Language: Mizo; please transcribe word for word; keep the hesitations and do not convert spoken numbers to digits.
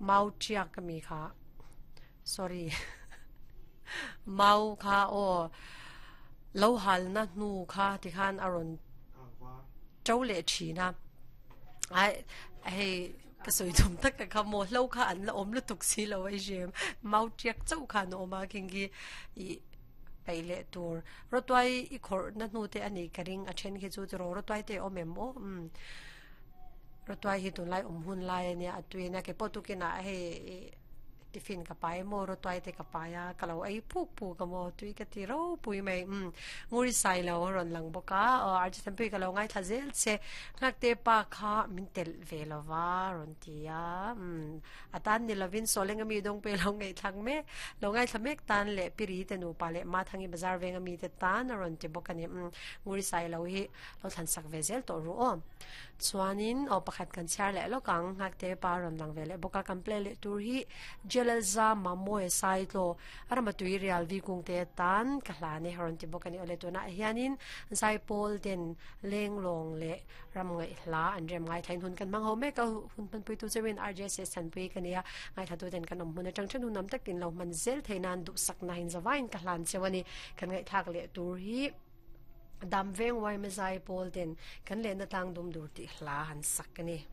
Mau tiak mi kha sorry mau kha o lo hal na hnu kha ti khan aron to le thina ai hei ka soi thum tak ka kha mo hlo kha an la om lu tuk si lo ai jem mau tiak chau kha no ma king gi i peile tur rotwai i khor na hnu te ani karing a then khi chu ro rotwai te om em o um rotwai hi tun lai om hun lai ania atuina ke potukina hei tiffin ka pai mo ro toy te ka paia ka lo ei puk pu ka mo tui ka ti ro pui mai um nguri sai lo ron lang boka ar chi tham pui ka lo ngai tha zel che ngak te pa kha min tel ve lova ron tia um atan ni lovin soleng ami dong pe lo ngai thlang me lo ngai thlamek tan le piri te nu pa le ma thangi bazar veng ami te tan ron ti bokani um nguri sai lo hi lo than sak ve zel to ru o chuanin o pakhat kan char le lo kang ngak te pa ron lang ve le boka kan play le tur hi jelza mamoe sai tlo arama tui real vi kung te tan ka hla ne haron ti bokani ole to na hianin zai pol den leng long le ram ngai hla an rem ngai thain hun kan mang ho me ka hun pan pui tu chewin rjs san pui kania ngai thatu den kan om hun atang chen hun nam tak tin lo man zel theinan du sak na hin zawain ka hlan chewani kan ngai thak le tur hi dam veng wai me zai pol den kan le na tang dum dur ti hla han sak ani.